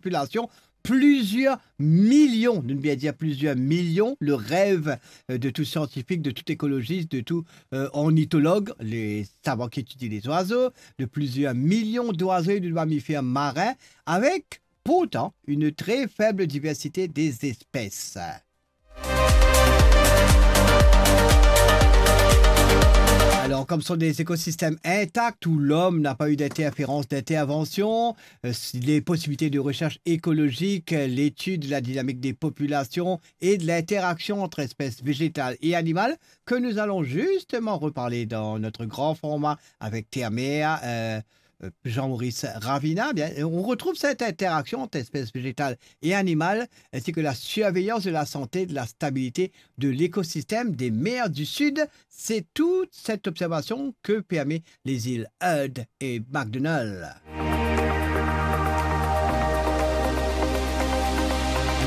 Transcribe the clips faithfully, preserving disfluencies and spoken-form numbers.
popilasion, plizier milion, nou bien dir plizier milion, le rev, euh, de tou siantifik, de tou ekolozis, de tou, euh, ornitolog, le savan ki etidie lezwazo, de plizier milion dwazo e de mamifer marin, avek pourtan une très faible diversité des espèces. Alors, comme sont des écosystèmes intacts où l'homme n'a pas eu d'interférence, d'intervention, euh, les possibilités de recherche écologique, euh, l'étude de la dynamique des populations et de l'interaction entre espèces végétales et animales, que nous allons justement reparler dans notre grand format avec Termer, euh, euh, Jean-Maurice Ravina, bien, on retrouve cette interaction entre espèces végétales et animales, ainsi que la surveillance de la santé, de la stabilité de l'écosystème des mers du Sud. C'est toute cette observation que permet les îles Heard et MacDonald.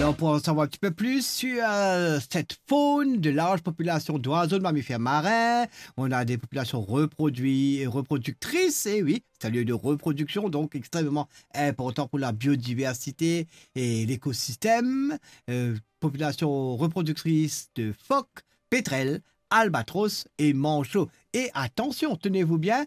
Alors, pour en savoir un petit peu plus sur, euh, cette faune de large population d'oiseaux, de mammifères marins, on a des populations reproduit-, reproductrices, et oui, c'est un lieu de reproduction, donc extrêmement important pour la biodiversité et l'écosystème. Euh, population reproductrice de phoques, pétrels, albatros et manchots. Et attention, tenez-vous bien,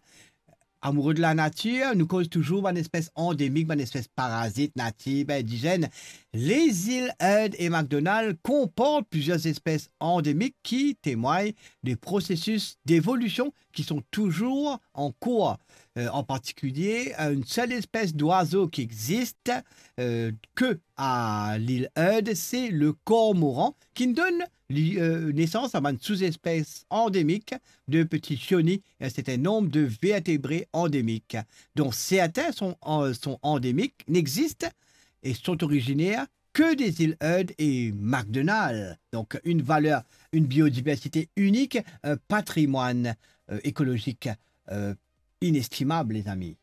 amoureux de la nature, nou koz touzour bann espes andemik, bann espes parazit, natif, indizenn. Les îles Heard et MacDonald comportent plusieurs espèces endémiques qui témoignent des processus d'évolution qui sont toujours en cours. Euh, en particulier, une seule espèce d'oiseau qui existe, euh, que à l'île Heard, c'est le cormoran, qui donne li-, euh, naissance à une sous-espèce endémique de petits chionis et un certain nombre de vertébrés endémiques, dont certains sont en-, sont endémiques, n'existent et sont originaires que des îles Heard et MacDonald. Donc, une valeur, une biodiversité unique, un patrimoine, euh, écologique, euh, inestimable, les amis.